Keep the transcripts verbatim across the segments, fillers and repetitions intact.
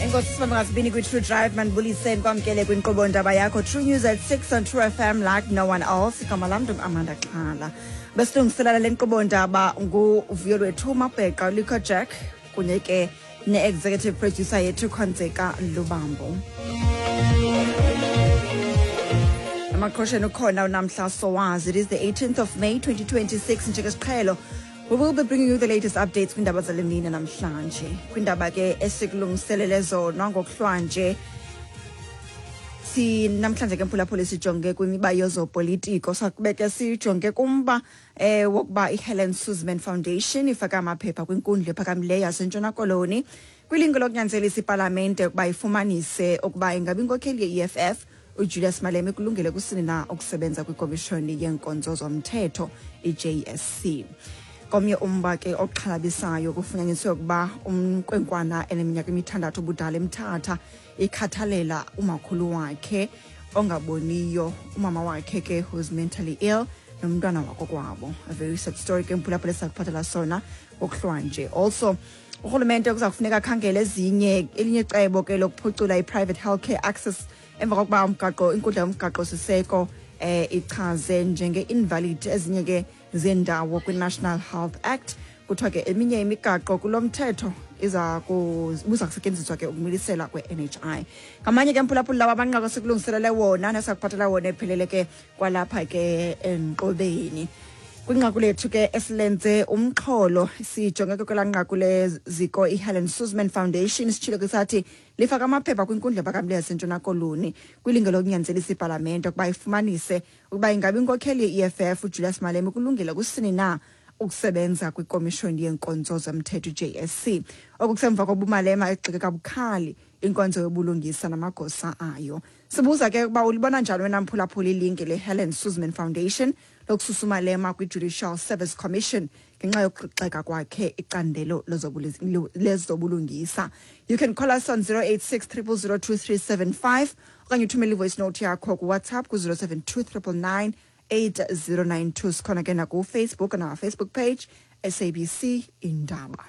Enkosi sibamba ngasibini kwi-True Drive. Mandibulise, ndikwamkele kwinkqubo ndaba yakho True News at six on True F M like no one else. Igama lam ndingu-Amanda Xhala. Besilungiselela le nkqubo ndaba nguvuyo lwethu Mabheqa, ulikho Jack, kunye ke ne-executive producer yethu Khonzeka Lubambo. Amaqhosheni ukhona uNamhla Sowazi. It is the eighteenth of May twenty twenty-six. Njengesiqhelo, we will be bringing you the latest updates kwindaba zale mini namhlanje. Kwindaba ke esikulungiselele zona ngokuhlwanje si namhlanje ke, mphulaphuli, sijonge kwimiba yezopolitiko. Sakube ke sijonge kumba eh wokuba iHelen Suzman Foundation ifaka amaphepha kwinkundla ephakamileyo yaseNtshona Koloni kwilinge lokunyanzelisa ipalamente ukuba ifumanise ukuba ingabi inkokheli ye-E F F uJulius Malema kulungele kusini na ukusebenza kwikomishoni yeenkonzo zomthetho, i-J S C. Komnye umba ke oxhalabisayo, kufunyaniswe ukuba umkwenkwana eneminyaka emithandathu ubudala eMthatha ikhathalela umakhulu wakhe ongaboniyo, umama wakhe ke who's mentally ill, nomntwana wakokwabo. A very sad story ke, mphulaphula, esakuphathela sona ngokuhlwanje. Also, urhulumente kuza kufuneka akhangele ezinye elinye icebo ke lokuphucula i-private healthcare access emva kokuba umgaqo inkundla yomgaqo siseko eh ichaze njenge-invalid ezinye ke zendawo kwi-National Health Act. Kuthiwa ke eminye imigaqo kulo mthetho iza buza kusetyenziswa ke ukumilisela kwe-N H I. Ngamanye ke, mphulaphula, lawa amanqaku esikulungiselele wona nesakuphathela wona ephelele ke kwalapha ke enkqubeni. Kwinqaku lethu ke esilenze umxholo, sijonge ke kwelaa nqaku leziko iHelen Suzman Foundation. Sitshilo ke sathi lifaka amaphepha kwinkundla ephakamileyo yaseNtshona Koloni kwilinge lokunyanzelisa ipalamente ukuba ifumanise ukuba ingabi inkokheli ye-E F F uJulius Malema kulungile kusini na ukusebenza kwikomishoni yeenkonzo zomthetho, i-J S C. Oku kusemva kokuba uMalema egxeke kabukhali inkonzo yobulungisa namagosa ayo. Sibuza ke ukuba ulibona njani wena, mphulaphula, ilinge le-Helen Suzman Foundation lokususa uMalema kwi-Judicial Service Commission ngenxa yokuxeka kwakhe icandelo lezobulungisa. You can call us on zero eight six zero zero zero two three seven five okanye uthumele ivoice note yakho kuWhatsApp ku-zero seven two nine nine nine eight zero nine two. Sikhona ke nakuFacebook, on our Facebook page, S A B C Indaba.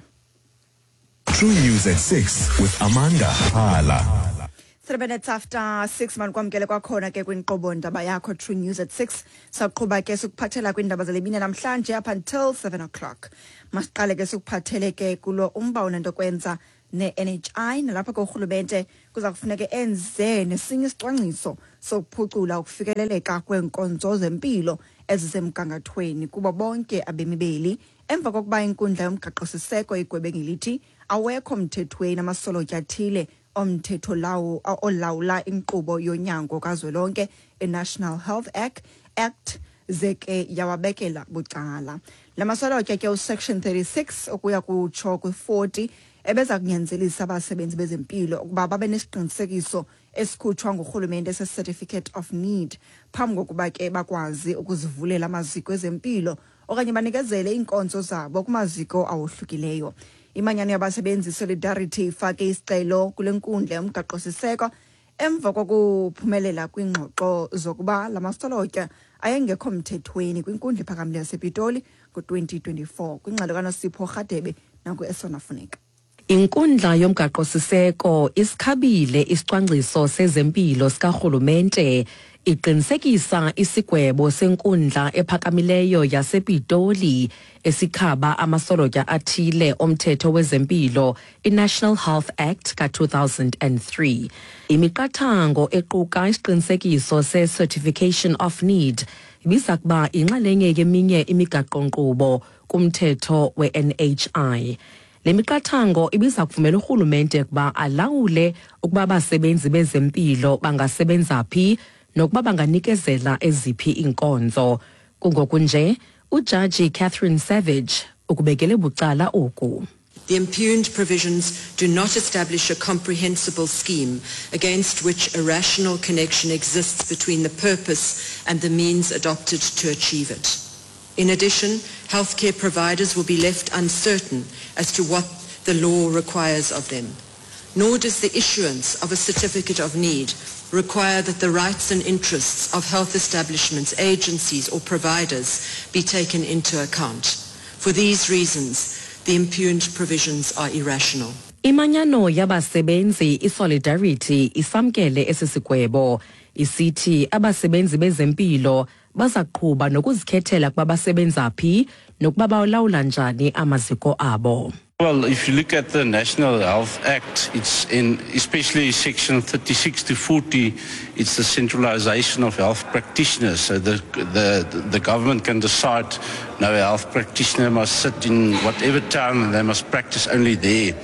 True News at six with Amanda Hala. Three minutes after six, manikwamkele kwakhona ke kwinkqubo ndaba yakho True News at six. Saqhuba ke sikuphathela kwiindaba zale mini namhlanje up until seven o'clock. Masiqale ke sikuphathele ke kulo umba onento kwenza ne-N H I, nalapha ke urhulumente kuza kufuneka enze nesinye isicwangciso sokuphucula ukufikeleleka kweenkonzo zempilo ezisemgangathweni kubo bonke abemi beli emva kokuba inkundla yomgaqo-siseko igwebe ngelithi awekho mthethweni amasolotya athile omthetho lawo olawula inkqubo yonyango kazwelonke, i-National Health Act Act ze ke yawabekela bucala la masolotya ke usection thirty-six ukuya kutsho kwi-forty ebeza kunyanzelisa abasebenzi bezempilo ukuba babe nesiqinisekiso esikhutshwa ngurhulumente se-certificate of need phambi kokuba ke bakwazi ukuzivulela amaziko ezempilo okanye banikezele iinkonzo zabo kumaziko awohlukileyo. Imanyano yabasebenzi Solidarity ifake isicelo kule nkundla yomgaqo-siseko emva kokuphumelela kwiingxoxo zokuba la masolotya ayengekho mthethweni kwinkundla ephakamileyo yasePitoli ngo-twenty twenty-four. Kwingxelo kaNosipho Rhadebe nangu-Esona Funeka. Inkundla yomgaqo-siseko isikhabile isicwangciso sezempilo sikarhulumente, iqinisekisa isigwebo senkundla ephakamileyo yasePitoli esikhaba amasolotya athile omthetho wezempilo, iNational Health Act ka-two thousand and three. Imiqathango equka isiqinisekiso se-Certification of Need ibiza kuba inxalenye yeminye imigaqo-nkqubo kumthetho we-N H I. Le miqathango ibiza kuvumela urhulumente ukuba alawule ukuba abasebenzi bezempilo bangasebenza phi nokuba banganikezela eziphi iinkonzo. Kungoku nje ujaji Catherine Savage ukubekele bucala oku. The impugned provisions do not establish a comprehensible scheme against which a rational connection exists between the purpose and the means adopted to achieve it. In addition, healthcare providers will be left uncertain as to what the law requires of them. Nor does the issuance of a certificate of need require that the rights and interests of health establishments, agencies or providers be taken into account. For these reasons, the impugned provisions are irrational. Imanyano yabasebenzi iSolidarity isamkele esi sigwebo, isithi abasebenzi bezempilo bazaqhuba nokuzikhethela kuba basebenza phi nokuba bawulawula njani amaziko abo. Well, if you look at the National Health Act, it's in especially section thirty-six to forty, it's the centralization of health practitioners. So the, the, the government can decide no health practitioner must sit in whatever town and they must practice only there.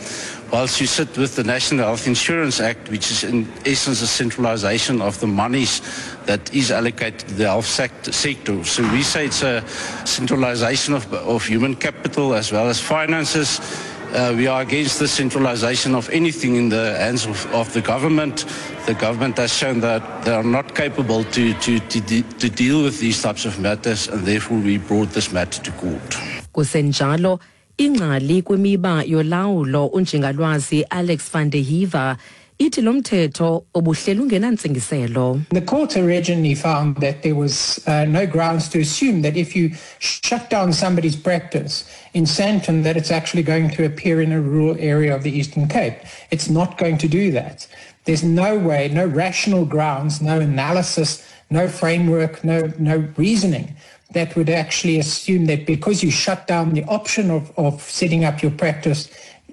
Whilst you sit with the National Health Insurance Act, which is in essence a centralization of the monies that is allocated to the health sector. So we say it's a centralization of, of human capital as well as finances. Uh, we are against the centralization of anything in the hands of, of the government. The government has shown that they are not capable to, to, to, de- to deal with these types of matters, and therefore we brought this matter to court. Kusenjalo, ingcali kwimiba yolawulo unjingalwazi Alex van der Heever ithi lo mthetho obuhleli ungenantsingiselo. The court originally found that there was uh, no grounds to assume that if you shut down somebody's practice in Sandton that it's actually going to appear in a rural area of the Eastern Cape. It's not going to do that. There's no way, no rational grounds, no analysis, no framework, no, no reasoning that would actually assume that because you shut down the option of, of setting up your practice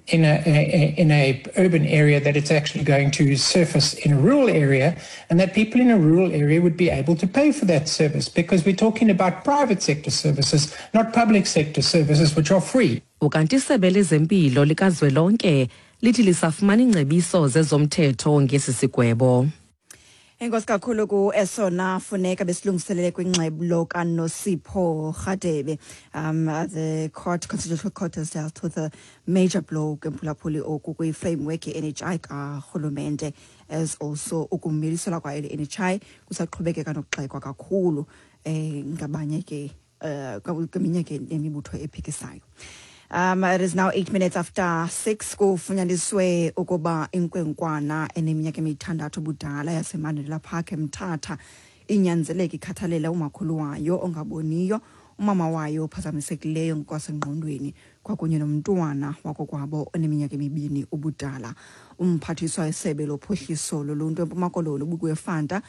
in a, a in a urban area, that it's actually going to surface in a rural area, and that people in a rural area would be able to pay for that service, because we're talking about private sector services, not public sector services, which are free. Ukanti isebe lezempilo likazwelonke lithi lisafumana ingcebiso zezomthetho ngesi sigwebo. Enkosi kakhulu ku esona funeka besilungiselele kwingxelo kaNosipho Rhadebe. Um the court, Constitutional Court has dealt with a major blow kemphulaphuli oku kwi-framework ye-N H I karhulumente, as also ukumiliselwa kwayo le N H I kusaqhubekeka nokugxekwa kakhulu eh ngabanye ke eh kweminye ke nemibutho ephikisayo. Um, it is now eight minutes after six. Kufunyaniswe ukuba inkwenkwana eneminyaka emithandathu ubudala yaseMandela Park eMthatha inyanzeleke ikhathalele umakhulu wayo ongaboniyo, umama wayo ophazamisekileyo ngokwasengqondweni kwakunye nomntwana wakokwabo oneminyaka emibini ubudala. Umphathiswa wesebe lophuhliso loluntu eMpuma Koloni uBukiwe Fanta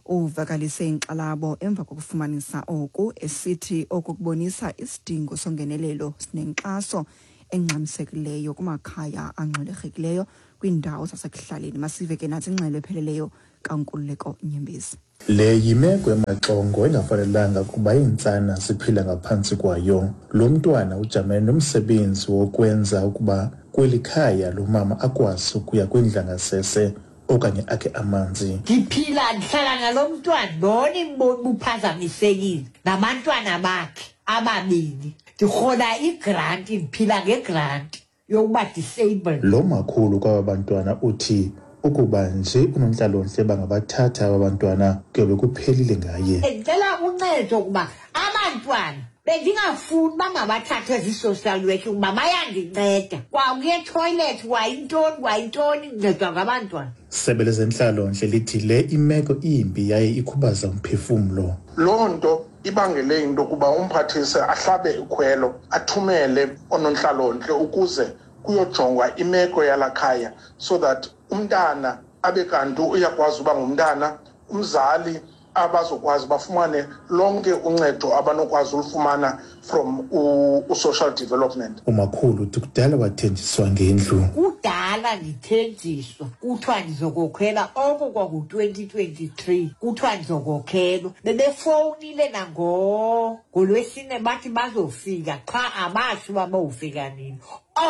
uvakalise inkxalabo emva kokufumanisa oku, esithi oku kubonisa isidingo songenelelo sinenkxaso engxamisekileyo kumakhaya angxwelerhekileyo kwiindawo zasekuhlaleni. Masive ke nathi ingxelo epheleleyo kaNkululeko Nyembezi. Le yimeko emaxongo engafanelanga kuba iintsana ziphila ngaphantsi kwayo. Lo mntwana ujamene nomsebenzi wokwenza ukuba kweli khaya lo mama akwazi ukuya kwindlangasese okanye akhe amanzi. Ndiphila ndihlala nalo mntwana, ndona imboni buphazamisekile nabantwana bakhe ababini. Ndirhola igranti, ndiphila ngegranti yokuba disabled. Lo makhulu kwaba bantwana uthi ukuba nje unontlalontle bangabathatha aba bantwana kuyobe kuphelile ngaye. Ndicela uncedo kuba abantwana bendingafuni bangabathathwe zii-social work kuba bayandinceda. Kwakuye toilet, kwayintoni, kwayintoni, ndincedwa ngabantwana. Sebe lezentlalontle lithi le imeko imbi yaye ikhubaza umphefumlo. Loo nto ibangele into yokuba umphathise ahlabe ikhwelo, athumele oonontlalontle ukuze kuyojongwa imeko yalakhaya so that umntana abe kanti uyakwazi uba ngumntana, umzali abazokwazi bafumane lonke uncedo abanokwazi ulufumana from u-social development. Umakhulu uthi kudala wathenjiswa ngendlu. Kudala ndithenjiswa, kuthiwa ndizokokhela oko kwaku-twenty twenty-three, kuthiwa ndizokokhela. Bebefowunile nango ngolwesine bathi bazofika, qha abatsho uba bawufika nini.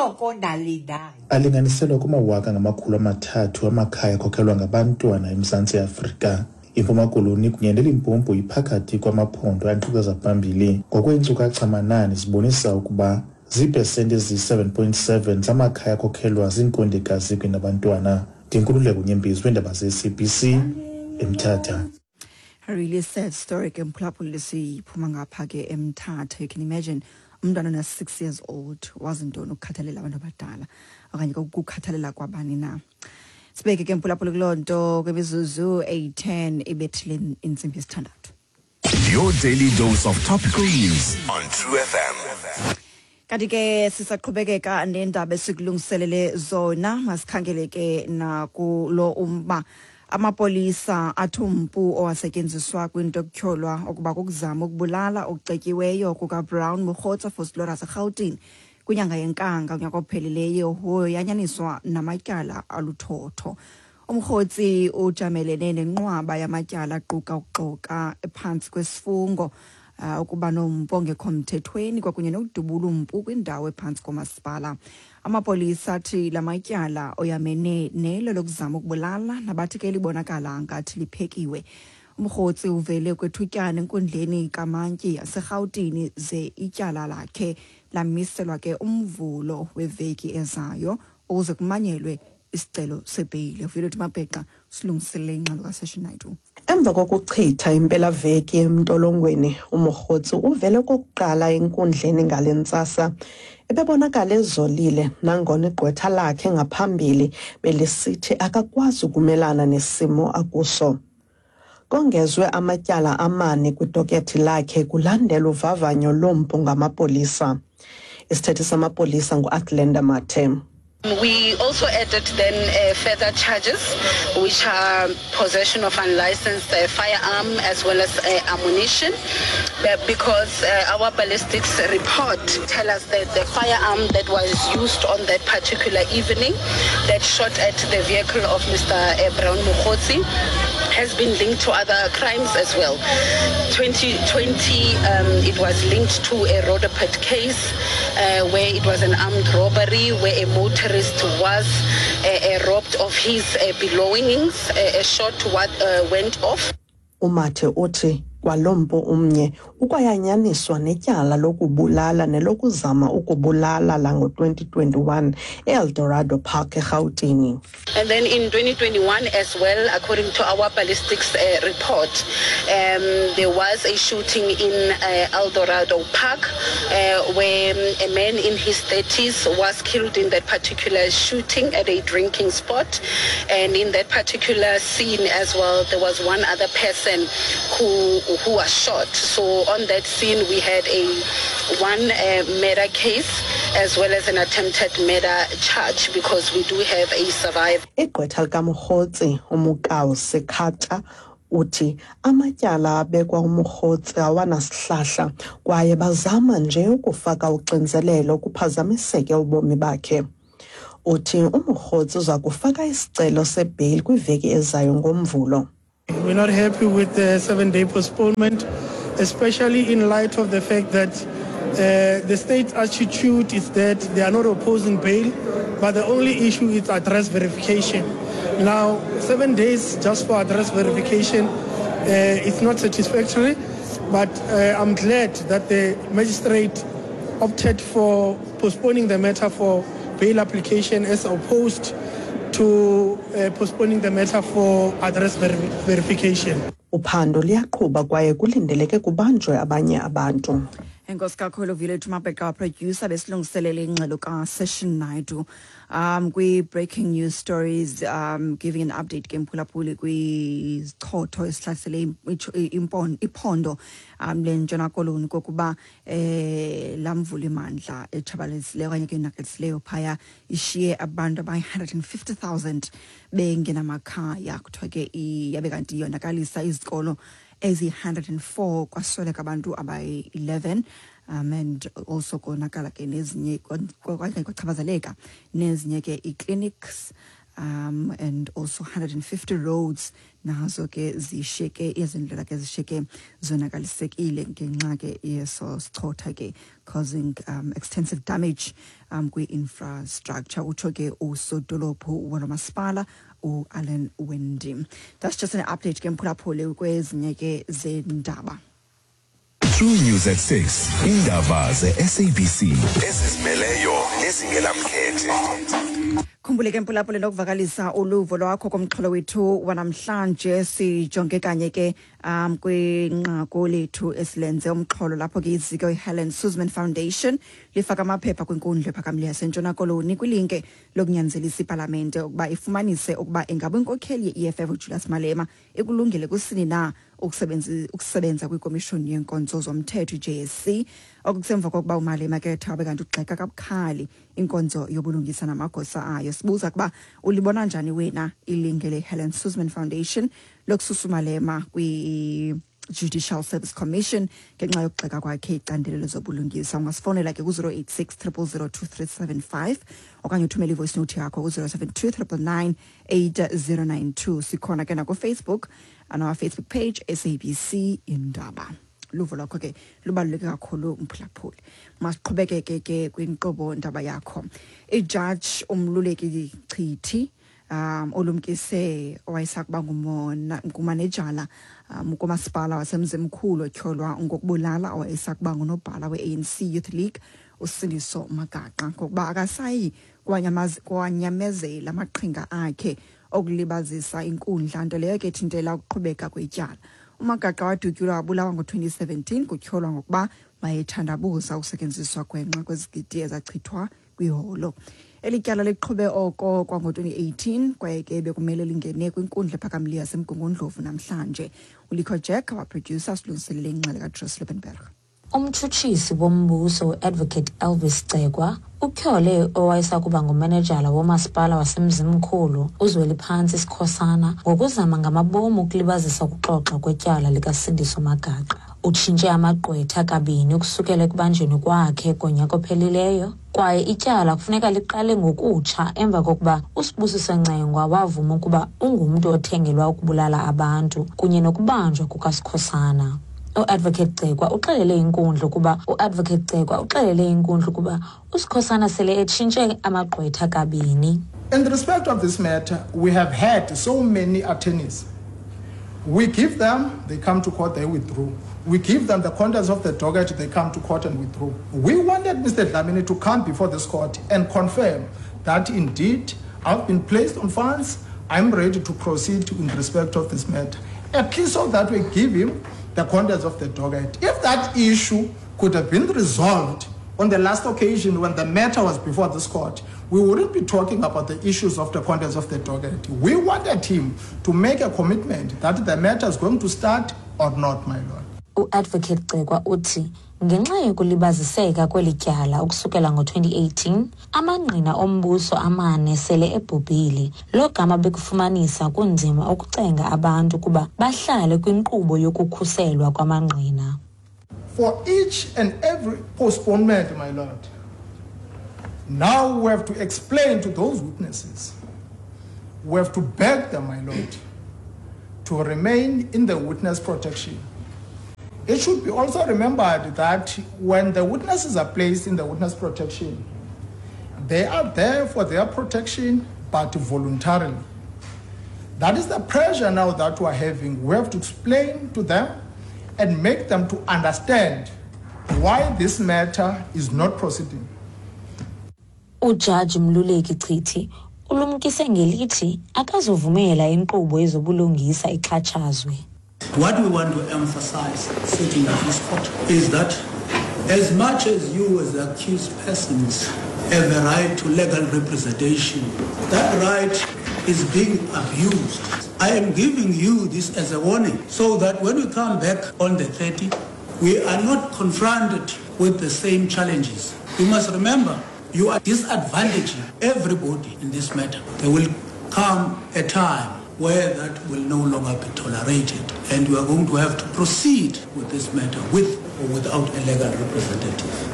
Oko ndalindayo. Alinganiselwa kumawaka ngamakhulu amathathu amakhaya akhokhelwa ngabantwana eMzantsi Afrika. IMpuma Koloni kunye neLimpopo iphakathi kwamaphondo anqikaza phambili. Ngokweenkcukacha-manani zibonisa ukuba ziipesenti eziyi-seven point seven zamakhaya akhokhelwa ziinkondekazi kunye nabantwana. Ndinkululeko Nyembezi weendaba ze-S A B C eMthatha. A really sad story ke mphulaphuli siphuma ngapha ke eMthatha. You can imagine umntwana ona six years old wazi ntoni ukukhathalela abantu abadala okanye ukukhathalela kwabani na. Sibeke ke mphulaphuli kuloo nto kwimizuzu eyi-ten ibethile intsimbi yesithandathu. Your daily dose of topical news on True F M. Kanti ke sisaqhubekeka nendaba esikulungiselele zona, masikhangele ke nakulo umba. Amapolisa athi umpu owasetyenziswa kwinto ekutyholwa ukuba kukuzama ukubulala okucetyiweyo kukaBrown Mogotsi Vosloorus eRhawutini kwinyanga yeNkanga unyaka ophelileyo woyanyaniswa namatyala aluthotho. Umrhotsi ujamelene nenqwaba yamatyala aquka ukuxoka phantsi kwesifungo, uh, ukuba nompu ongekho mthethweni kwakunye nokudubula umpu kwindawo ephantsi komasipala. Amapolisa athi la matyala oyamene nelo lokuzama ukubulala nabathi ke libonakala ngathi liphekiwe. Umrhotsi uvele kwethutyana enkundleni kaMantyi yaseRhawutini ze ityala lakhe lamiselwa ke umvulo weveki ezayo ukuze kumanyelwe isicelo sebheyile. Violet Mabhexa silungiselele ingxelo kaSession Naidu. Emva kokuchitha impelaveki emntolongweni, uMogotsi uvele okokuqala enkundleni ngale ntsasa. Ebebonakala ezolile nangona igqwetha lakhe ngaphambili belisithi akakwazi ukumelana nesimo akuso. Kongezwe amatyala amane kwidokethi lakhe kulandela uvavanyo lompu ngamapolisa. Isithethi samapolisa ngu-Athlenda Mathe. We also added then uh, further charges, which are possession of unlicensed uh, firearm as well as uh, ammunition, but because uh, our ballistics report tell us that the firearm that was used on that particular evening that shot at the vehicle of Mister Brown Mogotsi has been linked to other crimes as well. twenty twenty, um, it was linked to a Roodepoort case uh, where it was an armed robbery where a motorist was uh, uh, robbed of his uh, belongings. Uh, a shot what, uh, went off. Umathe uthi kwalompu umnye ukwayanyaniswa netyala lokubulala nelokuzama ukubulala lango twenty twenty-one eEldorado Park eRhawutini. And then in twenty twenty-one as well, according to our ballistics uh, report, um, there was a shooting in uh, Eldorado Park uh, where a man in his thirties was killed in that particular shooting at a drinking spot. And in that particular scene as well, there was one other person who who was shot. So on that scene we had a one uh, murder case as well as an attempted murder charge because we do have a survivor. Igqwetha likaMogotsi uMokau Sekata uthi amatyala abekwa uMogotsi awanasihlahla kwaye bazama nje ukufaka uxinzelelo kuphazamiseke ubomi bakhe. Uthi uMogotsi uza kufaka isicelo sebheyili kwiveki ezayo ngoMvulo. We're not happy with the seven-day postponement, especially in light of the fact that uh, the state's attitude is that they are not opposing bail, but the only issue is address verification. Now, seven days just for address verification, uh, it's not satisfactory, but uh, I'm glad that the magistrate opted for postponing the matter for bail application as opposed to uh, postponing the matter for address ver- verification. Uphando liyaqhuba kwaye kulindeleke kubanjwe abanye abantu. Enkosi kakhulu Violet Mabheka, producer besilungiselele ingxelo kaSession Naidu. Um kwi breaking news stories, um giving an update ke mphulaphuli kwizichotho esihlasele iphondo um lentshona koloni kokuba eh lamvula imandla etshabalalisileyo okanye ke yonakaliseleyo phaya ishiye abantu abayi one hundred fifty thousand bengenamakhaya. Kuthiwa ke yabe kanti yonakalisa izikolo ezi one hundred four kwasweleka abantu abayi eleven, um and also konakala ke nezinye kwachaphazeleka nezinye ke i-clinics, um and also one hundred fifty roads nazo ke zishiyeke izindlela ke zishiyeke zonakalisekile ngenxa ke yeso sichotha ke causing um, extensive damage um kwi-infrastructure, utsho ke usodolophu walomasipala u-Alan Wendy. That's just an update ke mphulaphuli kwezinye ke zendaba. True News at six. Indaba ze-S A B C ezizimeleyo nezingelamkhethe. Khumbule ke mphulaphuli nokuvakalisa uluvo lwakho komxholo wethu wanamhlanje. Sijonge kanye ke um kwinqaku lethu esilenze umxholo lapho ke iziko iHelen Suzman Foundation lifaka amaphepha kwinkundla ephakamileyo yaseNtshona Koloni kwilinke lokunyanzelisa ipalamente ukuba ifumanise ukuba ingabe inkokheli ye-E F F uJulius Malema ikulungele kusini na ukusebenza ukusebenza kwikomishoni yenkonzo zomthetho i J S C. Oku kusemva kokuba uMalema ke ethe wabe kanti ugxeka kabukhali inkonzo yobulungisa namagosa ayo. Sibuza kuba ulibona njani wena ilinge le-Helen Suzman Foundation lokususa uMalema kwi Judicial Service Commission ngenxa yokugxeka kwakhe icandelo lezobulungisa. Ungasifowunela ke ku-zero eight six triple zero two three seven five okanye uthumele i-voice note yakho ku-zero seven two triple nine eight zero nine two. Sikhona ke nakuFacebook, on our Facebook page S A B C Indaba. Luvo lwakho ke lubaluleke kakhulu mphulaphuli. Masiqhubekeke ke kwinkqubo ndaba yakho. Ijaji uMluleki Chithi um olumkise owayesakuba ngumona ngumanejala um kumasipala waseMzimkhulu otyholwa ngokubulala owayesakuba ngunobhala we-A N C Youth League uSindiso Magaqa ngokuba akasayi kwanyamezela amaqhinga akhe okulibazisa inkundla, nto leyo ke ethintela ukuqhubeka kwetyala. uMagaqa wadutyulwa wabulawa ngo-twenty seventeen kutyholwa ngokuba wayethandabuza ukusetyenziswa gwenxa kwezigidi ezachithwa kwiholo. Eli tyala liqhube oko kwango-twenty eighteen kwaye ke bekumele lingene kwinkundla ephakamileyo yaseMgungundlovu namhlanje. uLikho Jack, our producer, silungiselele ingxelo kaJoyce Liebenberg. Umtshutshisi wombuso Advocate Elvis Cegwa utyhole owayesakuba ngumanejala womasipala waseMzimkhulu uZweliphantsi Sikhosana ngokuzama ngamabomu ukulibazisa ukuxoxa kwetyala likaSindiso Magaqa. Utshintshe amagqwetha kabini ukusukela ekubanjweni kwakhe konyaka ophelileyo, kwaye ityala kufuneka liqale ngokutsha emva kokuba uSibusiso Ncengwa wavuma ukuba ungumntu othengelwa ukubulala abantu kunye nokubanjwa kukaSikhosana. U-Advocate Cegwa uxelele inkundla ukuba u-Advocate Cegwa uxelele inkundla ukuba uSikhosana sele etshintshe amagqwetha kabini. In respect of this matter, we have had so many attorneys. We give them, they come to court, they withdraw. We give them the contents of the docket, they come to court and withdraw. We wanted Mister Dlamini to come before this court and confirm that indeed I've been placed on funds, I'm ready to proceed in respect of this matter. At least so that we give him the contents of the docket. If that issue could have been resolved on the last occasion when the matter was before this court, we wouldn't be talking about the issues of the contents of the docket. We wanted him to make a commitment that the matter is going to start or not, my lord. U-Advocate Cegwa uthi ngenxa yokulibaziseka kweli tyala ukusukela ngo-twenty eighteen, amangqina ombuso amane sele ebhubhile. Lo gama bekufumanisa kunzima ukucenga abantu kuba bahlale kwinkqubo yokukhuselwa kwamangqina. For each and every postponement, my lord, now we have to explain to those witnesses, we have to beg them, my lord, to remain in the witness protection. It should be also remembered that when the witnesses are placed in the witness protection, they are there for their protection, but voluntarily. That is the pressure now that we are having. We have to explain to them and make them to understand why this matter is not proceeding. Ujaji Mluleki Chithi ulumkise ngelithi akazovumela inkqubo yezobulungisa ixhatshazwe. What we want to emphasize sitting at this court is that as much as you as the accused persons have a right to legal representation, that right is being abused. I am giving you this as a warning so that when we come back on the thirtieth, we are not confronted with the same challenges. You must remember, you are disadvantaging everybody in this matter. There will come a time where that will no longer be tolerated, and we are going to have to proceed with this matter with or without a legal representative.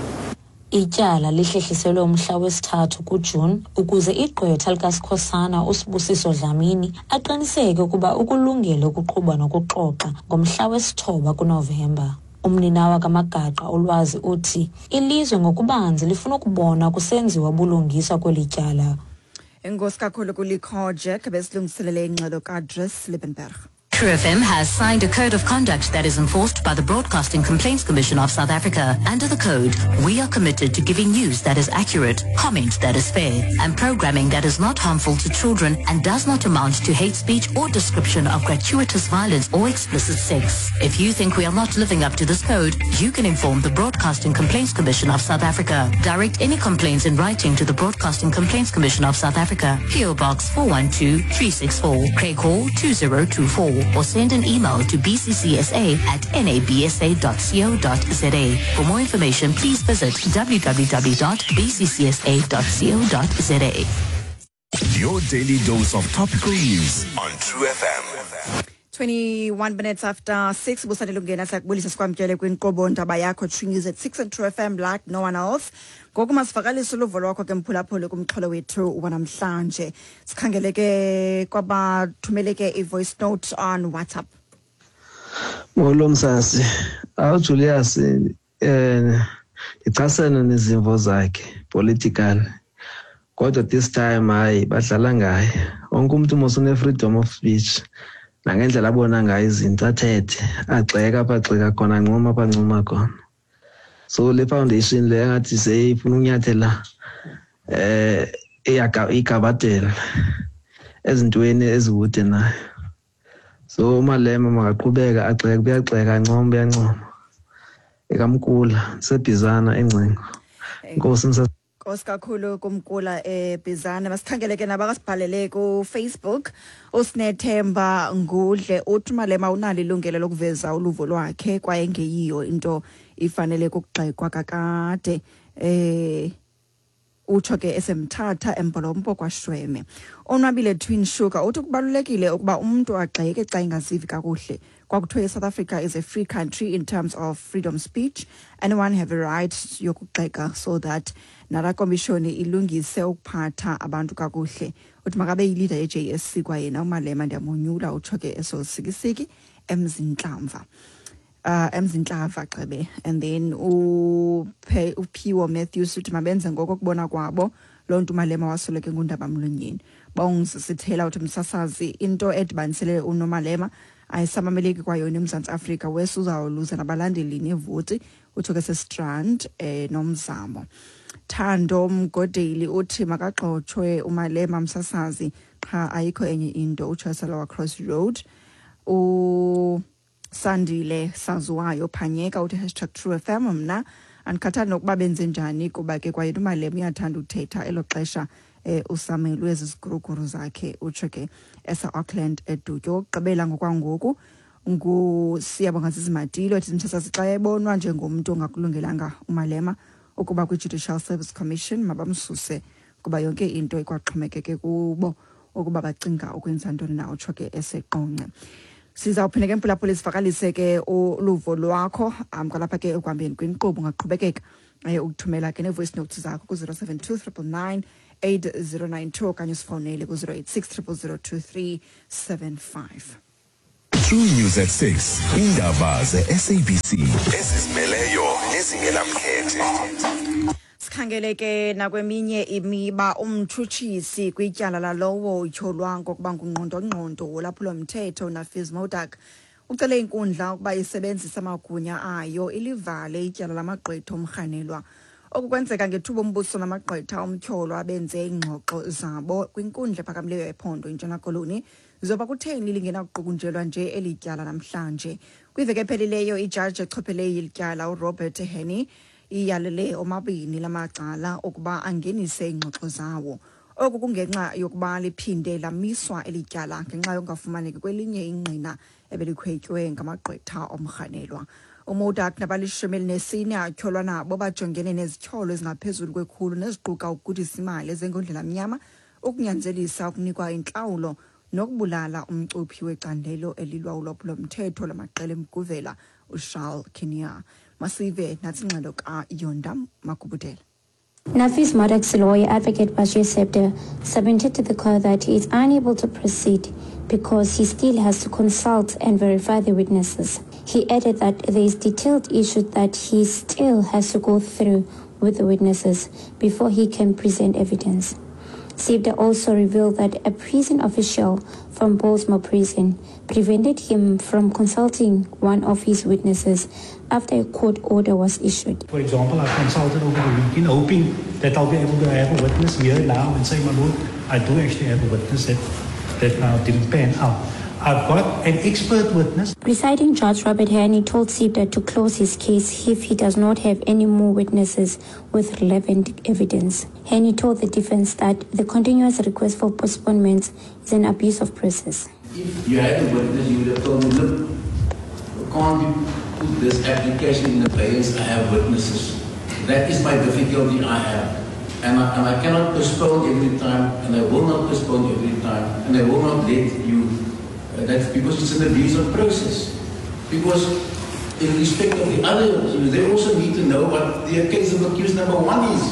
Ityala lihlehliselwe umhla wesithathu kuJuni ukuze igqwetha likaSikhosana uSibusiso Dlamini aqiniseke ukuba ukulungele ukuqhuba nokuxoxa ngomhla wesithoba kuNovemba. Umninawa kaMagaqa uLwazi uthi ilizwe ngokubanzi lifuna ukubona kusenziwa ubulungisa kweli tyala. Enkosi kakhulu kuLikho Jack besilungiselele ingxelo kaDris Liebenberg. True F M has signed a code of conduct that is enforced by the Broadcasting Complaints Commission of South Africa. Under the code, we are committed to giving news that is accurate, comment that is fair, and programming that is not harmful to children and does not amount to hate speech or description of gratuitous violence or explicit sex. If you think we are not living up to this code, you can inform the Broadcasting Complaints Commission of South Africa. Direct any complaints in writing to the Broadcasting Complaints Commission of South Africa. P O Box four one two three six four, Craig Hall two zero two four. or send an email to b c c s a at n a b s a dot co dot z a. For more information, please visit w w w dot b c c s a dot co dot z a. Your daily dose of topical news on True F M. twenty-one minutes after six, busandela ukungena siyakubulisa sikwamkele kwinkqubo Ndaba Yakho True News at six and True F M like no one else. Ngoku masivakalise uluvo lwakho ke mphulaphuli kumxholo wethu wanamhlanje. Sikhangele ke kwabathumele ke i-voice note on WhatsApp. Molo msasi, awu Julius, eh ndichasene nezimvo zakhe political. Kodwa this time hayi badlala ngaye. Wonke umuntu mos une freedom of speech. Nangendlela abona ngayo izinto athethe, agxeka apha agxeka khona, ancoma apha ancoma khona. So le foundation le engathi seyifuna ukunyathela eh igabadela ezintweni ezikude nayo. So uMalema makaqhubeka agxeke, uyagxeka, ancoma, uyancoma. Ekamkula sebhizana engcingo. Inkosi msa Nkosi kakhulu kumkula eBhizana. Masikhangele ke nabakasibhalele ku Facebook. Usinethemba Ngudle uthi Malema unalo ilungelo lokuveza uluvo lwakhe kwaye ngeyiyo into ifanele ukugxekwa kakade. Eh utsho ke esemthatha embolompo kwaShweme. Onwabile Twin Sugar uthi kubalulekile ukuba umuntu agxeke xa engazivi kakuhle. Kwakuthiwe South Africa is a free country in terms of freedom speech. Anyone have a right yokugxeka so that nala komishoni ilungise ukuphatha abantu kakuhle. Uthi makabe yileader ye J S C kwayena uMalema ndiyamonyula, utsho ke esosikisiki emzinhlamva. Uh, emzinhlava xebe. And then uphe uphiwo Matthews uthi mabenze ngokubona kwabo loo nto uMalema wasoleke ngundaba mlonyeni. Bongizisithela uthi msasazi into edibanisele uNomalema ayisamameleki kwayona eMzantsi Afrika wesuzawuluza nabalandeli nevoti, utsho ke seStrand eh nomzamo. Thando Mgodeli uthi makagxotshwe uMalema msasazi qha ayikho enye into, utsho eSalawa Cross Road. U Sandile Saziwayo Phanyeka uthi hashtag True F M mna andikhathali nokuba benze njani kuba ke kwayena uMalema uyathanda uthetha elo xesha eh usamelwe ziziguruguru zakhe, utsho ke esa Auckland eDutywa. Okugqibela ngokwangoku nguSiyabonga Zizimatilo ethi msasazi xa ebonwa njengomntu ongakulungelanga uMalema ukuba kwi-Judicial Service Commission mabamsuse kuba yonke into ikwaxhomekeke kubo ukuba bacinga ukwenza ntoni na, utsho ke eseqonce. Sizawuphinda ke mphulaphuli sivakalise ke uluvo lwakho um kwalapha ke ekuhambeni kwinkqubo. Ungaqhubekeka ukuthumela ke nee-voice notes zakho ku-zero seven two triple nine eight zero nine two okanye usifowunele ku-zero eight six triple zero two three seven five. True News at six, indaba ze-S A B C ezizimeleyo nezingenamkhethe. Sikhangele ke nakweminye imiba. Umtshutshisi kwityala lalowo utyholwa ngokuba ngungqondongqondo wolwaphulo-mthetho Nafiz Modak ucele inkundla ukuba isebenzise amagunya ayo ilivale ityala lamagqwetha omrhanelwa. Oku kwenzeka ngethuba umbuso namagqwetha omtyholwa benze iingxoxo zabo kwinkundla ephakamileyo yephondo iNtshona Koloni. Zoba kutheni lingenakuqukunjelwa nje eli tyala namhlanje. Kwiveki ephelileyo ijaji echophele ilityala uRobert Henny iyalele omabini lamacala ukuba angenise iingxoxo zawo. Oku kungenxa yokuba liphinde lamiswa eli tyala ngenxa yokungafumaneki kwelinye ingqina ebelikhwetywe ngamagqwetha omrhanelwa. UModak nabalishumi elinesine atyholwa nabo bajongene nezityholo ezingaphezulu kwekhulu neziquka ukugudisa imali ezengondlela mnyama, ukunyanzelisa ukunikwa intlawulo nokubulala umcuphi wecandelo elilwa ulwaphulo-mthetho lamaqela emguvela uCharles Kinnear. Masive natsi ingxelo kaYonda Makubudela. Nafiz Modak's lawyer, Advocate Bashir Septer, submitted to the court that he is unable to proceed because he still has to consult and verify the witnesses. He added that there is detailed issue that he still has to go through with the witnesses before he can present evidence. Sibda also revealed that a prison official from Pollsmoor Prison prevented him from consulting one of his witnesses after a court order was issued. For example, I consulted over the weekend, hoping that I'll be able to have a witness here now and say, my lord, I do actually have a witness that, that now didn't pan out. I've got an expert witness. Presiding Judge Robert Henney told Sibda to close his case if he does not have any more witnesses with relevant evidence. Henney told the defense that the continuous request for postponements is an abuse of process. If you had a witness, you would have told me, look, can't you put this application in abeyance? I have witnesses. That is my difficulty I have. And I, and I cannot postpone every time, and I will not postpone every time, and I will not let you. Uh, that's because it's an abuse of process. Because in respect of the others, they also need to know what the case of accused number one is,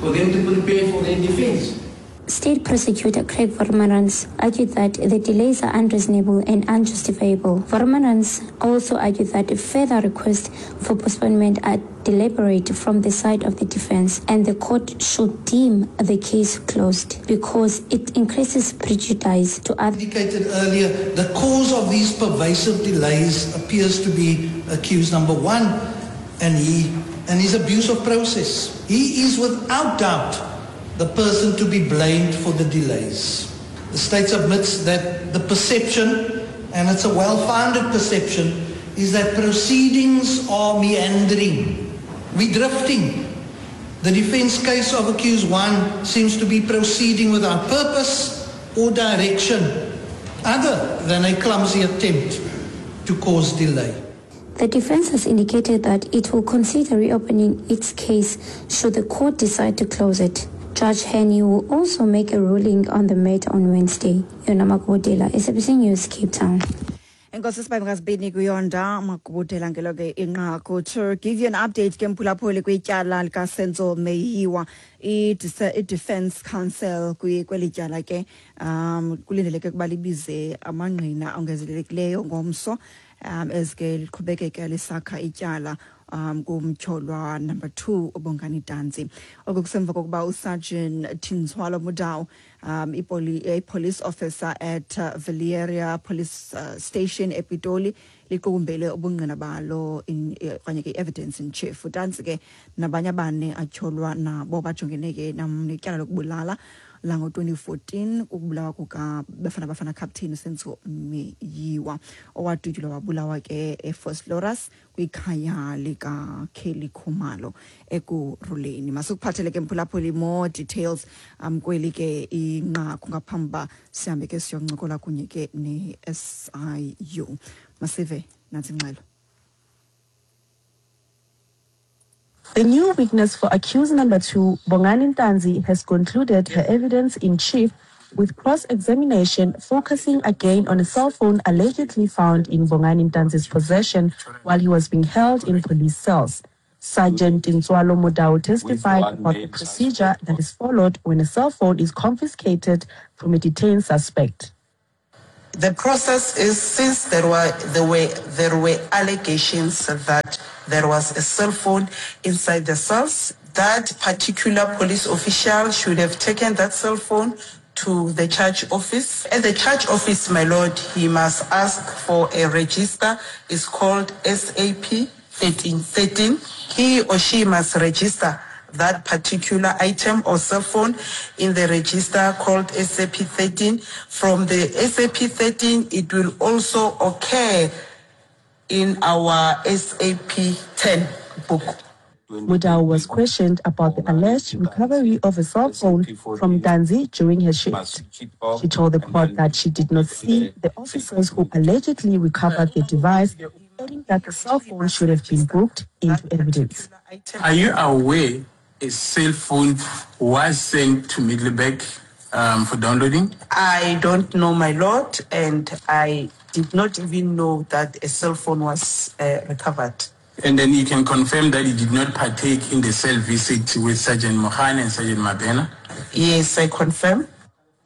for them to prepare for their defense. State Prosecutor Craig Vormarans argued that the delays are unreasonable and unjustifiable. Vormarans also argued that further requests for postponement are deliberate from the side of the defense and the court should deem the case closed because it increases prejudice to others. Indicated earlier, the cause of these pervasive delays appears to be accused number one and he and his abuse of process. He is without doubt the person to be blamed for the delays. The state submits that the perception, and it's a well-founded perception, is that proceedings are meandering. We're drifting. The defense case of accused one seems to be proceeding without purpose or direction, other than a clumsy attempt to cause delay. The defense has indicated that it will consider reopening its case should the court decide to close it. Judge Henney will also make a ruling on the matter on Wednesday. Yona Makubudela, S A B C News, Cape Town. Enkosi sibangazibini kuyonda Makubudela ngelo ke inqaku. To give you an update ke mphulaphuli kwityala likaSenzo Meyiwa, i-Defense Council kweli tyala ke um kulindeleke ukuba libize amangqina ongezelelekileyo ngomso um ezike liqhubekeke lisakha ityala um kumtyholwa number two uBongani Ntanzi. Oku kusemva kokuba uSergeant Tintswalo Mudau, um a police officer at uh, Valeria Police uh, Station ePitoli, liqukumbele ubungqina balo in okanye ke evidence in chief. Ntanzi ke nabanye abane atyholwa nabo bajongene ke netyala lokubulala lango twenty fourteen ukubulawa kuka Bafana Bafana captain uSenzo Meyiwa owadutyulwa wabulawa ke eVosloorus kwikhaya lika Kelly Khumalo Ekurhuleni. Masikuphathele ke mphulaphuli more details um kweli ke inqaku ngaphambi ba sihambe ke siyoncokola kunye ke ne-S I U. Masive nathi ingxelo. The new witness for accused number two, Bongani Ntanzi, has concluded her evidence in chief with cross-examination focusing again on a cell phone allegedly found in Bongani Ntanzi's possession while he was being held in police cells. Sergeant Tintswalo Mudau testified about the procedure that is followed when a cell phone is confiscated from a detained suspect. The process is, since there were, there were, there were allegations that there was a cell phone inside the cells, that particular police official should have taken that cell phone to the charge office. At the charge office, my lord, he must ask for a register. It's called S A P thirteen thirteen. He or she must register that particular item or cell phone in the register called S A P thirteen. From the S A P thirteen, it will also occur in our S A P ten book. Mudau was questioned about the alleged recovery of a cell phone from Ntanzi during her shift. She told the court that she did not see the officers who allegedly recovered the device, adding that the cell phone should have been booked into evidence. Are you aware a cell phone was sent to Middelburg um, for downloading? I don't know, my lord, and I did not even know that a cell phone was uh, recovered. And then you can confirm that you did not partake in the cell visit with Sergeant Mohan and Sergeant Mabena? Yes, I confirm.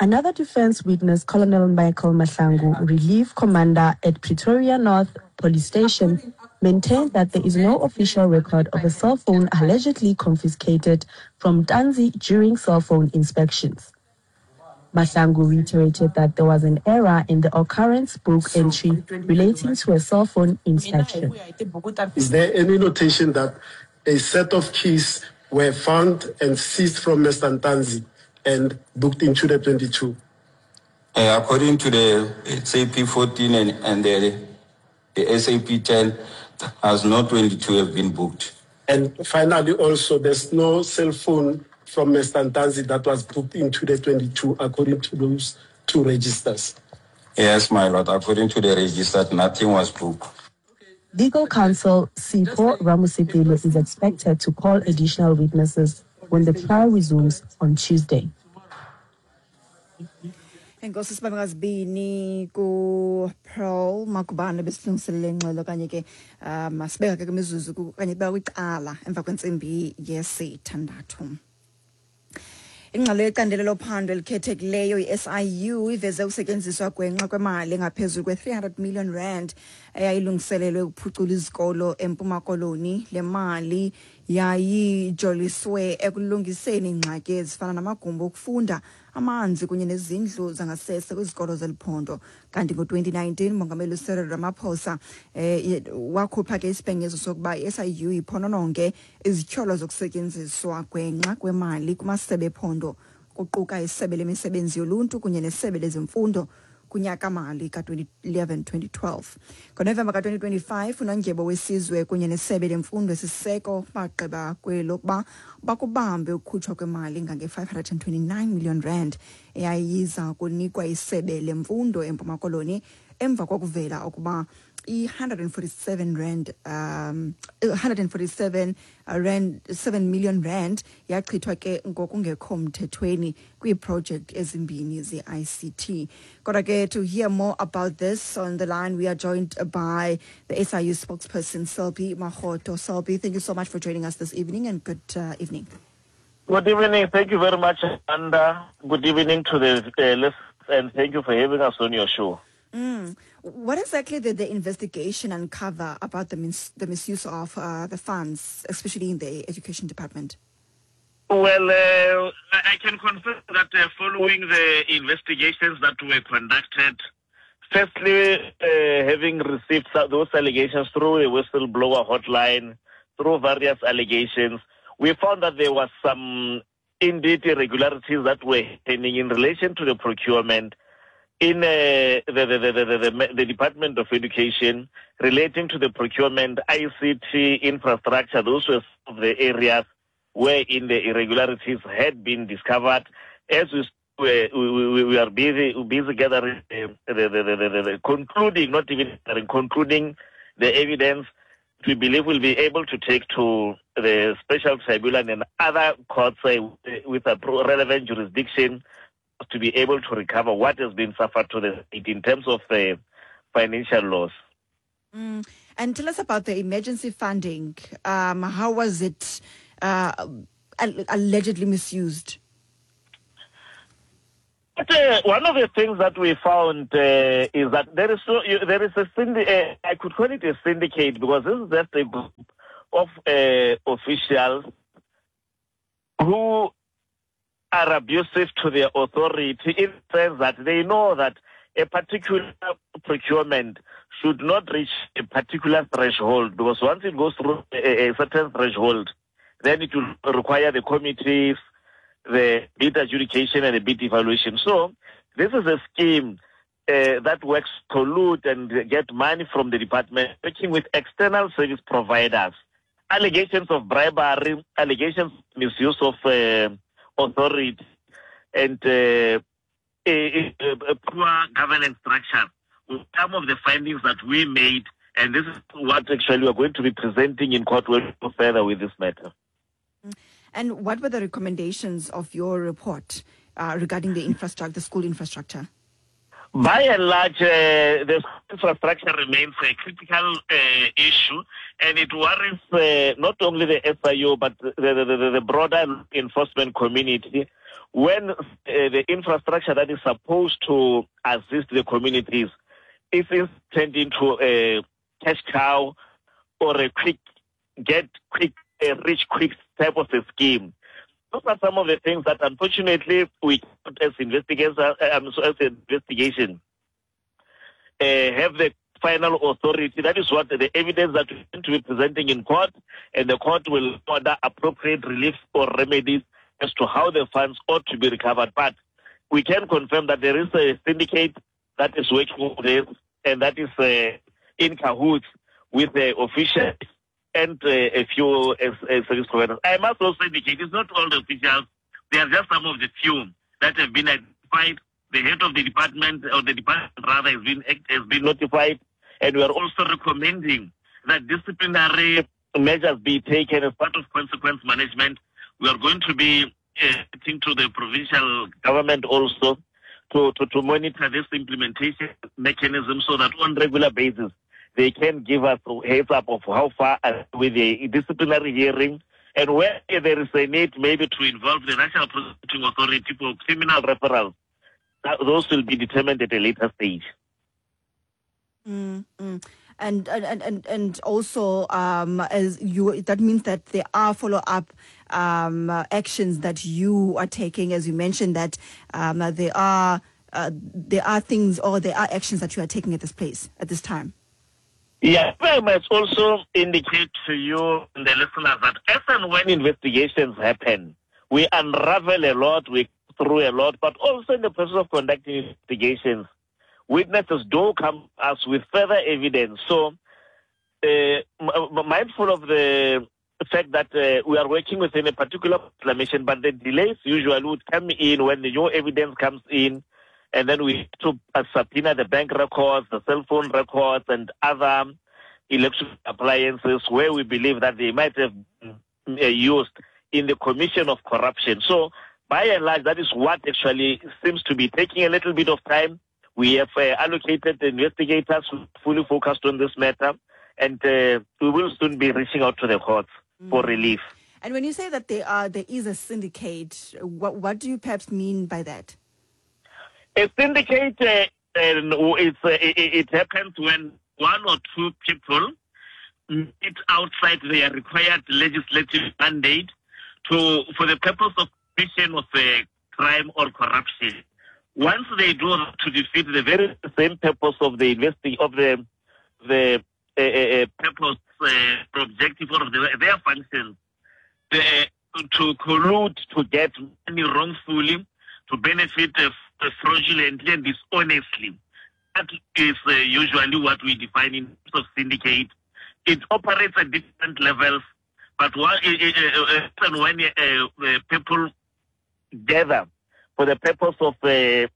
Another defense witness, Colonel Michael Mahlangu, relief commander at Pretoria North Police Station, maintained that there is no official record of a cell phone allegedly confiscated from Ntanzi during cell phone inspections. Mahlangu reiterated that there was an error in the occurrence book entry relating to a cell phone inspection. Is there any notation that a set of keys were found and seized from Mister Ntanzi and booked into the twenty-two? Uh, according to the S A P fourteen and, and the, the S A P ten, has not twenty-two have been booked. And finally, also, there's no cell phone from Mister Ntanzi that was booked into the twenty-two, according to those two registers. Yes, my lord. According to the register, nothing was booked. Legal counsel Sipho Ramosepele is expected to call additional witnesses when the trial resumes on Tuesday. Enkosi sibangazibini ku-Pearl Magubane besilungiselele ingxelo kanye ke um sibeka ke kwimizuzu kanye kubeka kwicala emva kwentsimbi yesithandathu. Ingxelo yecandelo lophando elikhethekileyo i-S I U iveze ukusetyenziswa gwenxa kwemali engaphezulu kwe-three hundred million rand eyayilungiselelwe ukuphucula izikolo eMpuma Koloni. Le mali yayijoliswe ekulungiseni iingxaki ezifana namagumbi okufunda, amanzi kunye nezindlu zangasese kwizikolo zeliphondo. Kanti ngo-twenty nineteen uMongameli Cyril Ramaphosa eh, wakhupha ke isibhengezo sokuba i-S I U iphonononge izityholo zokusetyenziswa gwenxa kwemali kumasebe ephondo, kuquka isebe lemisebenzi yoluntu kunye nesebe lezemfundo kunyaka-mali ka-twenty eleven twenty twelve. NgoNovemba ka-twenty twenty-five unondyebo wesizwe kunye nesebe lemfundo esiseko bagqiba kwelokuba bakubambe ukukhutshwa kwemali ngange-five hundred and twenty-nine million rand eyayiza kunikwa isebe lemfundo eMpuma Koloni emva kokuvela ukuba i-one hundred and forty-seven rand um one hundred and forty-seven rand seven million rand yachithwa ke ngokungekho mthethweni kwiiproject ezimbini ze-I C T. Kodwa ke, to hear more about this on the line we are joined by the S I U spokesperson Selby Makgotho. Selby, thank you so much for joining us this evening and good uh, evening. Good evening. Thank you very much, Amanda. Good evening to the uh, listeners and thank you for having us on your show. Mm. What exactly did the investigation uncover about the, mis- the misuse of uh, the funds, especially in the education department? Well, uh, I can confirm that uh, following the investigations that were conducted, firstly, uh, having received those allegations through the whistleblower hotline, through various allegations, we found that there was some indeed irregularities that were happening in relation to the procurement in uh, the, the, the, the, the, the Department of Education relating to the procurement, I C T infrastructure. Those were some of the areas where in the irregularities had been discovered. As we, we, we, we are busy, busy gathering, uh, the, the, the, the, the, the concluding, not even gathering, concluding the evidence we believe we'll be able to take to the special tribunal and other courts uh, with a relevant jurisdiction to be able to recover what has been suffered to the state in terms of uh, financial loss. Mm. And tell us about the emergency funding. Um, how was it uh, allegedly misused? But, uh, one of the things that we found uh, is that there is so, you, there is a syndi- uh, I could call it a syndicate, because this is just a group of uh, officials who are abusive to their authority in the sense that they know that a particular procurement should not reach a particular threshold, because once it goes through a, a certain threshold, then it will require the committees, the bid adjudication and the bid evaluation. So this is a scheme uh, that works to collude and get money from the department, working with external service providers. Allegations of bribery, allegations of misuse of uh, authority, and uh, a, a, a poor governance structure. Some of the findings that we made, and this is what actually we are going to be presenting in court when we go further with this matter. And what were the recommendations of your report uh, regarding the infrastructure, the school infrastructure? By and large, uh, the infrastructure remains a critical uh, issue, and it worries uh, not only the S I U but the, the, the, the broader enforcement community when uh, the infrastructure that is supposed to assist the communities is turned into a cash cow or a quick get quick, a rich quick type of a scheme. Those are some of the things that, unfortunately, we as investigators, um, so as investigation, uh, have the final authority. That is what the evidence that we're going to be presenting in court, and the court will order appropriate relief or remedies as to how the funds ought to be recovered. But we can confirm that there is a syndicate that is working on this and that is uh, in cahoots with the officials and uh, a few uh, service providers. I must also indicate it's not all the officials. They are just some of the few that have been identified. The head of the department, or the department rather, has been, has been notified. And we are also recommending that disciplinary measures be taken as part of consequence management. We are going to be uh, to the provincial government also to, to, to monitor this implementation mechanism so that on regular basis they can give us a heads up of how far with the disciplinary hearing and where there is a need maybe to involve the National Prosecuting Authority for criminal referrals. Those will be determined at a later stage. Mm, mm. And, and, and, and also, um, as you, that means that there are follow-up um, actions that you are taking, as you mentioned, that um, there are uh, there are things or there are actions that you are taking at this place, at this time. Yeah, I must also indicate to you and the listeners that as and when investigations happen, we unravel a lot, we through a lot, but also in the process of conducting investigations, witnesses do come to us with further evidence. So, uh, mindful of the fact that uh, we are working within a particular proclamation, but the delays usually would come in when the new evidence comes in, and then we have to uh, subpoena the bank records, the cell phone records, and other electric appliances where we believe that they might have been uh, used in the commission of corruption. So, by and large, that is what actually seems to be taking a little bit of time. We have uh, allocated the investigators who fully focused on this matter, and uh, we will soon be reaching out to the courts mm. for relief. And when you say that there are, there is a syndicate, what, what do you perhaps mean by that? A syndicate, uh, it's, uh, it, it happens when one or two people meet outside their required legislative mandate to for the purpose of commission of a crime or corruption. Once they do to defeat the very same purpose of the investi- of the the uh, uh, purpose, uh, objective or the, their function, the, uh, to collude to get money wrongfully, to benefit uh, fraudulently and dishonestly. That is uh, usually what we define in terms of syndicate. It operates at different levels, but one, uh, uh, when uh, uh, people gather for the purpose of uh,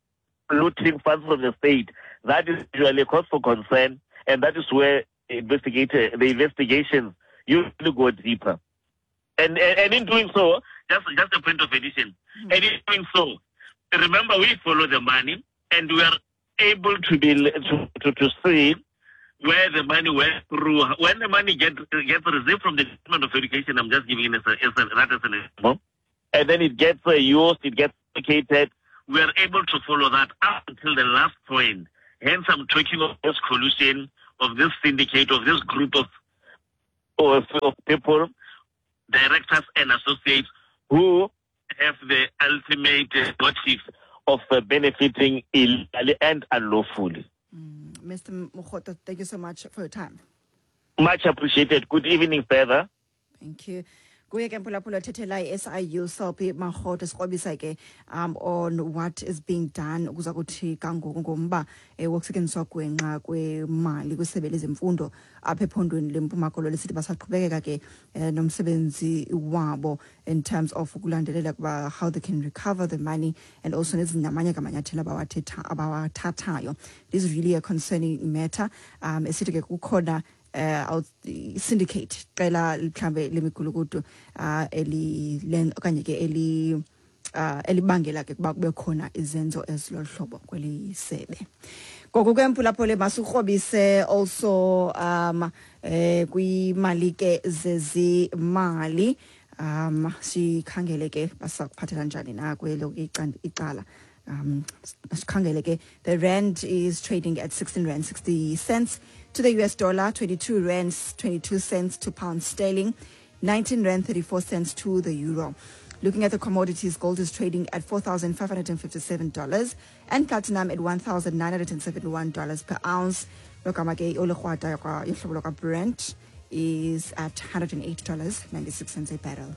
looting funds from the state, that is usually a cause for concern, and that is where investigator, the investigations usually go deeper. And, and, and in doing so, just, just a point of addition, mm-hmm. and in doing so, remember we follow the money, and we are able to be to, to, to see where the money went through. When the money gets gets received from the Department of Education, I'm just giving it as a, as a, that as an example, and then it gets uh, used, it gets allocated. We are able to follow that up until the last point. Hence, I'm talking of this collusion, of this syndicate, of this group of, of, of people, directors and associates, who have the ultimate motive of uh, benefiting illegally and unlawfully. Mm, Mister Mokgotho, thank you so much for your time. Much appreciated. Good evening, further. Thank you. Kuye ke mphulaphula thethela i-S I U Selby Makgotho sikrobisa ke um on what is being done ukuza kuthi kangoku ngomba eh, wokusetyenziswa gwenxa kwemali kwisebe lezemfundo apha ephondweni leMpuma Koloni. Sithi basaqhubekeka ke eh, nomsebenzi wabo in terms of ukulandelela kuba how they can recover the money and also nezinamanye kamanyathelo abawathetha abawathathayo. This is really a concerning matter. Um esithi ke kukhona Uh, syndicate qela mhlambe lemigulukudu uh, eli okanye ke eli uh, elibangela ke kuba kube khona izenzo ezilohlobo kweli sebe. Ngoku ke mphulaphule masikrobise also um eh kwimali ke zezimali um sikhangele ke basakuphathela njani na kwelo icala. Um, the rand is trading at sixteen rand sixty cents to the U S dollar, twenty-two rand twenty-two cents to pound sterling, nineteen rand thirty-four cents to the euro. Looking at the commodities, gold is trading at four thousand five hundred fifty-seven dollars and platinum at one thousand nine hundred seventy-one dollars per ounce. Brent is at one hundred eight dollars and ninety-six cents a barrel.